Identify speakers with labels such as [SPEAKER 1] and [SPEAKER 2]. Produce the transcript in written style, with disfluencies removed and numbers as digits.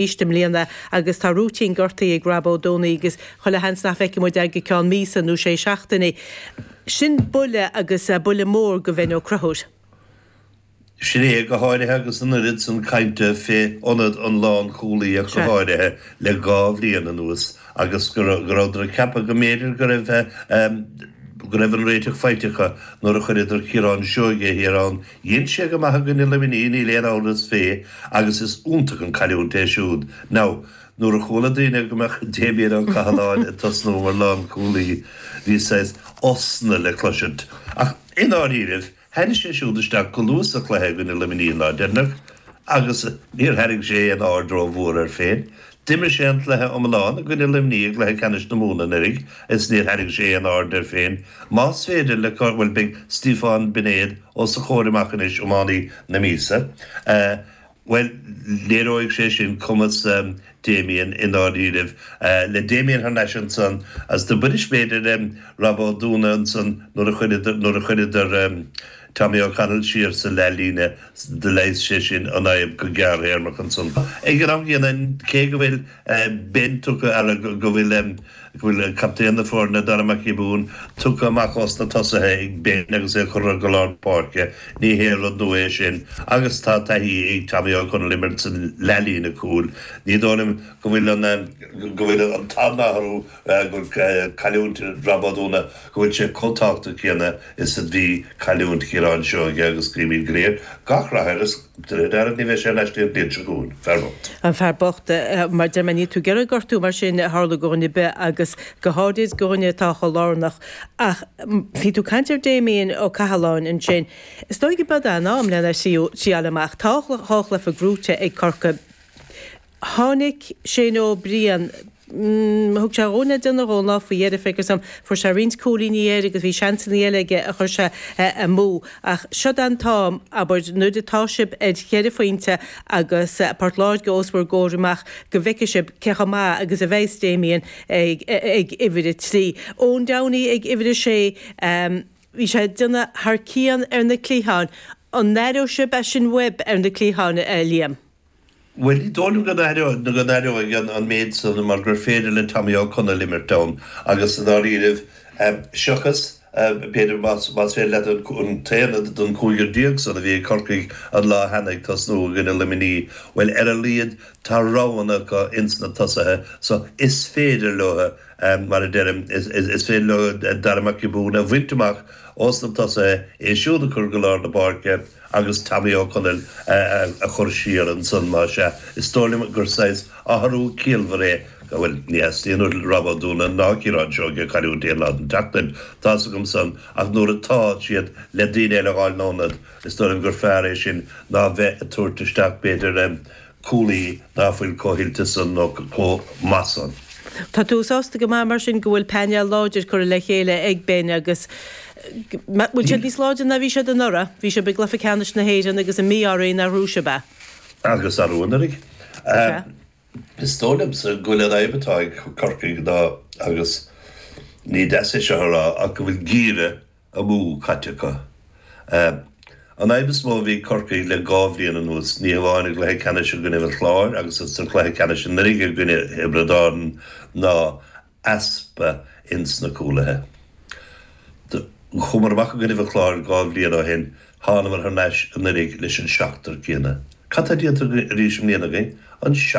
[SPEAKER 1] I mbliana agus tá Rúitín gortaithe ag Rob Ó Dúnaí agus chuile sheans nach bhfeicfidh muid é go ceann míosa nó sé seachtainí. Sin buille agus buille mór go Bhen Ó Conchúir.
[SPEAKER 2] Sin é, go háirithe agus an oiread san cainte fé ionad an lánchúlaí ach go háirithe le gá bhliain anuas agus go rabhadar ag ceapadh go mb'fhéidir go raibh go raibh an réiteach faighte acu nuair a chuireadar Ciarán Seoige thiar ann Dhein sé go maith i gcoinne Luimnigh, níl aon amhras fé, agus is iontach an cailliúint é siúd. Now, nuair a chuala daoine go mbeadh Damien Ó Cathaláin ag tosnú mar lánchúlaí, bhí saghas osna le cloisint. Ach, i ndáiríribh, tháinig sé siúd isteach go luath sa chluiche i gcoinne Luimnigh an lá deireanach, agus níor tharraing sé aon aird rómhór air féin. D'imir sé an cluiche iomlán i gcoinne Luimnigh i gcluiche ceannais na Mumhan anuraidh is níor tharraing sé aon aird air féin. Más féidir le, bhuel, beidh Stiofán Binéad os a chomhair amach anois, iománaí na míosa, bhuel, léireoidh sé sin cumas Damien i ndáiríribh. Le Damien thar n-ais ansan, agus do bainis b'fhéidir Rob Ó Dúna ansan nuair a chuireadar, nuair a chuireadar Tommy O'Connell siar sa leathlíne, Do leigheas sé sin an fhadhb go gearrthéarmach ansan. Ag an am gcéanna, cé go bhfuil Ben tugtha, ara, go bhfuil, go bhfuil captaen na foirne, Dara Mac Giobúin, tugtha amach os na tosaithe ag Ben agus é curtha go lár páirce, ní haon rud nua é sin agus tá taithí ag Tommy Ó Conaill imirt sa leathlíne cúil. Ní dóigh liom go bhfuil an, go bhfuil an t-athrú, go bhfuil cailliúint Rob Ó Dúna, go bhfuil sé chomh tábhachtach céanna is a bhí cailliúint Chiaráin Seoige agus guímid go léir gach rath air is de réir dealraimh ní bheidh sé ar ais go dtí an bhliain seo chugainn. Fear bocht.
[SPEAKER 1] An fear bocht. Mar deir mé, níl tú ag iarraidh gortú mar sin a tharlú go dhuine ar bith agus go háirid go dhuine atá chomh lárnach. Ach bhí tú ag caint ar Damien Ó Cathaláin ansin. Is dóigh go b'eod é an am lena thriáil amach. Tá dhá chluiche gnóite ag Corcaigh. Tháinig Shane Ó Briain, thug sé dhúinn le déanamh dhó an lá faoi dheireadh, feictear dom. Fuair sé roinnt cúilíní air agus bhí seansanna eile aige a chuir sé amú. Ach seod é an t-am, abair, nuair atá sibh ar cheithre phointe agus Port Láirge os bhur gcomhair amach go bhfeicfidh sibh cé chomh maith agus a bheas Damien ag uimhir a trí. Eoin Downey ag uimhir a sé, bhí sé ag déanamh thar cionn ar na cliatháin. An aireoidh sibh é sin uaibh ar na cliatháin, a Liam?
[SPEAKER 2] Bhuel, ní dóigh liom go n-aireoidh an méid san mar gur féidir le Tommy Ó Conaill imirt ann agus i ndáiríribh, seachas, b'fhéidir, más féidir leat an t-aonad den chúigear san a bhí ag Corcaigh an lá cheana ag tosnú i gcoinne Luimnigh, bhuel, ar a laghad tá roghanna acu ins na tosaithe so is féidir leo, mar a deirim, is féidir leo Dara Mac Giobúin a bhaint amach ós na tosaithe, é siúd a chur go lár na páirce. agus Tommy Ó Conaill a chur siar ansan, más ea. Is dóigh liom gur saghas athrú ciallmhar é, bhuel, ní theastaíonn ó Rob Ó Dúna ná Ciarán Seoige cailliúint aon lá den tseachtain, tá's agam san, ach nuair atá siad le daoine eile a dh'fháil ina n-ionad, is dóigh liom gur fearr é sin ná bheith ag tabhairt isteach, b'fhéidir, cúlaí ná fuil chomh hoilte san nó chomh maith san.
[SPEAKER 1] Tá tú sásta go maith mar sin go bhfuil painéal láidir curtha le chéile ag Ben agus bhfuil siad níos láidre ná bhí siad anuraidh? Bhí sibh i gcluiche ceannais na hÉireann agus an mí-ádh oraibh nár ghnóthaigh sibh é.
[SPEAKER 2] Agus arú anuraidh.
[SPEAKER 1] Sea.
[SPEAKER 2] Is dóigh liomsa go bhfuil an fhadhb atá ag Corcaigh ná, agus ní deas é seo a rá, ach go bhfuil giorria amú caite acu. An fhadhb is mó a bhí ag Corcaigh le gá bhliain anuas, ní hamháin i gcluiche ceannais i gcoinnibh an Chláir agus sa chluiche ceannais anuraidh i gcoinne Thiobraid Árann, ná easpa ins na cúlaithe. Chuamar amach i gcoinnibh an Chláir gá bhliain ó shin, thánamar thar n-ais anuraidh leis an seachtar céanna. Cad tá déanta arís i mbliana againn? An seachtar.